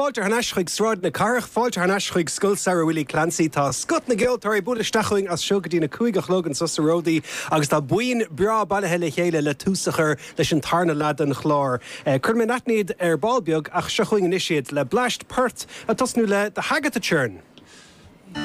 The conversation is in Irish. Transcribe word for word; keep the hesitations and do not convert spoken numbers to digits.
Fáilte thar n-ais chuig Sráid na Cathrach, fáilte thar n-ais chuig Scoil Samhraidh Willie Clancy tá scoth na gceoltóirí ag bualadh isteach chugainn as seo go dtí na cúig a chlog anseo sa Ródaí agus tá buíon breá bailithe le chéile le tús a chur leis an tarna leath den chlár. Cuirfidh mé in aithne iad ar ball beag ach seo chugainn anois iad le bleaist poirt ag tosnú le The Hagatha Churn.